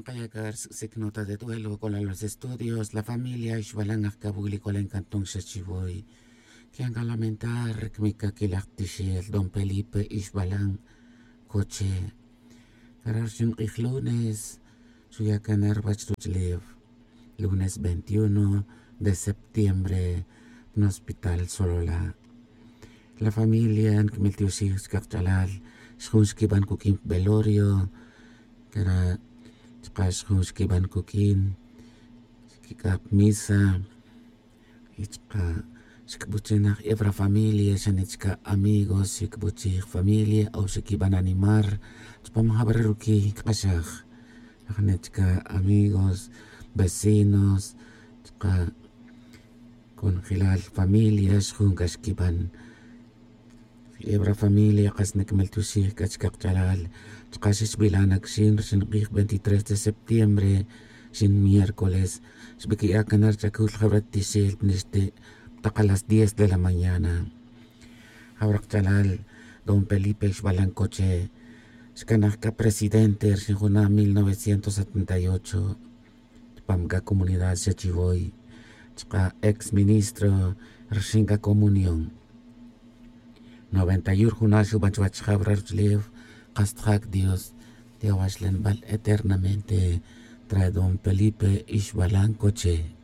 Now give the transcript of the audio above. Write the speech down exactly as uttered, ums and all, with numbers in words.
Kayakar sik nota de duelo con los estudios, la familia Ixbalan Ajkabuli con Cantón Xachiboy. Que han lamentar kmikakilaqtixel Don Felipe Ixbalan Coche. Karar lunes, Suyakanar Bachruchlev, lunes veintiuno de septiembre, en Hospital Solola. La familia nkmiltiuxij xkaqch'alal xjun xkib'an kukin velorio kara chqa xjun xkib'an kukin xkik'aq misa y chqa xkb'uchinaj ebra familia xanichka amigos xikb'uchij familia o xikib'an animar chpam jab'ar rukiy kq'axaj janichka amigos, vecinos chqa konjilal familia xjun k'a xkib'an ebra familia qas nikmaltioxij k'a chkaqch'alal chqa xixb'ilanak xin xinq'ij veintitrés de septiembre xin miércoles xb'iki'ak kanar ch'akul jab'ar tixel nixti' taq a las diez de la mañana jab'ar Don Felipe Ixbalan Coche xkanaj ka presidente xinjuna mil novecientos setenta y ocho chpam ka comunidad Xachiboy chqa ex ministro rxin ka comunión noventa y uno juna xub'an chuwach jab'ar ruwach'ulew qas tjak Dios Dios eternamente trae Don Felipe Ixbalan Coche.